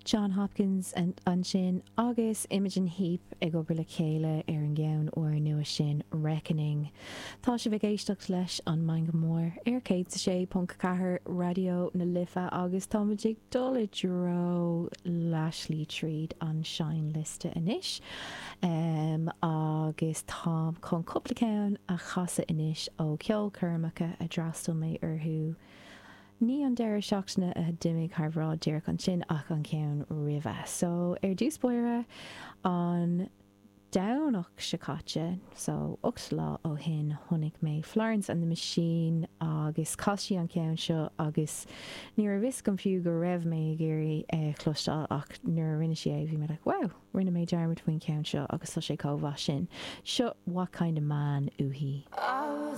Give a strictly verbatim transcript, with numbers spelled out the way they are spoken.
Jon Hopkins ansin agus Imogen Heap ag obair le chéile ar an gceann úrnua sin Reckoning. Tá sibh ag éisteacht leis an Meangadh Mór ar céad a sé ponc ceathair Raidió na Life agus táimid ag dul i dtreo leathshlí tríd an seinnliosta anois. Um, agus tá chun cúpla ceann a chasadh anois ó ceolchoirmeacha a d'fhreastail mé orthu. Ní an deireadh seachtaine a d'imigh thar bráid díreach ansin ach an ceann roimhe. So ar dtús báire an Domhnach seo caite, so ocht lá ó shin chonaic mé Florence and the Machine agus chas sí an ceann seo agus ní raibh fhios agam fiú go raibh mé ag iarraidh é chloisteáil ach nuair a rinne sí é bhí mé like, wow, rinne mé dearmad faoin ceann seo agus tá sé chomh maith sin. Seo what kind of man uaithi.